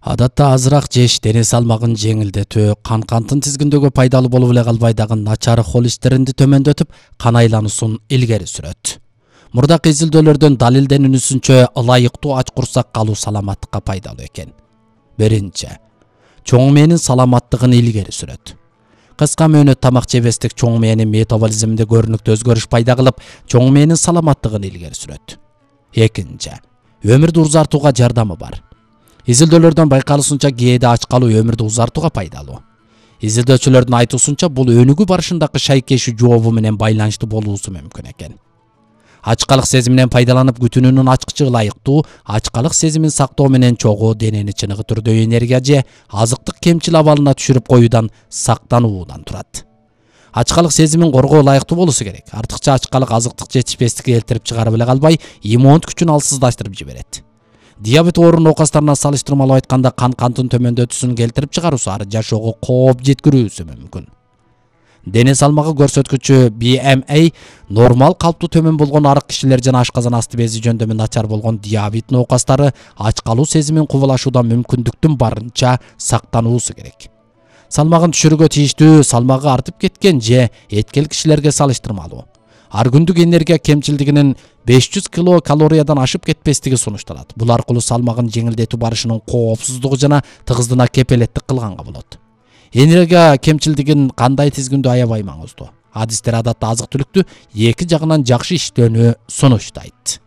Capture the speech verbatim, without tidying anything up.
Адатта азыраак жеш дене салмагын жеңилдетүү, кан кантын тизгиндөгү пайдалуу болуп эле калбай дагы начар холестеринди төмөндөтүп, кан айлануусун илгери сүрөт. Мурдакы изилдөөлөрдөн далилденүүсүнчө ылайыктуу ач курсак калуу саламаттыкка пайдалуу экен. Биринчи, чоң мээнин саламаттыгын илгери сүрөт. Кыска мөөнөт тамак жебестик чоң мээнин метаболизминде көрүнүктүү өзгөрүш пайда кылып, чоң мээнин саламаттыгын илгери сүрөт. Экинчи, өмүрдү узартууга жардамы бар. Изилдөөлөрдөн байкалышынча кээде ач калуу өмүрдү узартууга пайдалуу. Изилдөөчүлөрдүн айтуусунча бул өнүгүү барышындагы шайкеши жообу менен байланыштуу болуусу мүмкүн экен. Ачкалык сезиминен пайдаланып күтүүнүн ачкычы ылайыктуу, ачкалык сезимин сактоо менен чогуу денени чыныгы түрдө энергия же азыктык кемчил абалына түшүрүп коюудан сактануудан турат. Ачкалык сезимин коргоо ылайыктуу болуусу керек. Артыкча ачкалык азыктык жетишпестикке келтирип чыгарып эле калбай, иммундук күчүн алсыздаштырып жиберет. Диабет оору нокастарына салыштырмалуу айтканда кан кантын төмөндөтүүсүн келтирип чыгаруусу ары жашоого кооп жеткирүүсү мүмкүн. Дене салмагы көрсөткүчү би эм эй нормал калыптуу төмөн болгон арык кишилер жана ашказан асты бези жөндөмү начар болгон диабет нокастары ач калуу сезимин кубулашуудан мүмкүндүктүн барынча сактануусу керек. Салмагын түшүрүүгө тийиштүү салмагы артып кеткен же эткел кишилерге салыштырмалуу ар күндүк энергия кемчилдигинин беш жүз килокалориядан ашып кетпестиги сунушталат. Бул аркылуу салмагын жеңилдетүү барышынын коопсуздугу жана тыгыздыгына кепелеттик кылганга болот. Энергия кемчилдигин кандай тизгиндөө аябай маңыздуу. Адистер адатта азык түлүктү эки жагынан жакшы иштөөнү сунуштайт.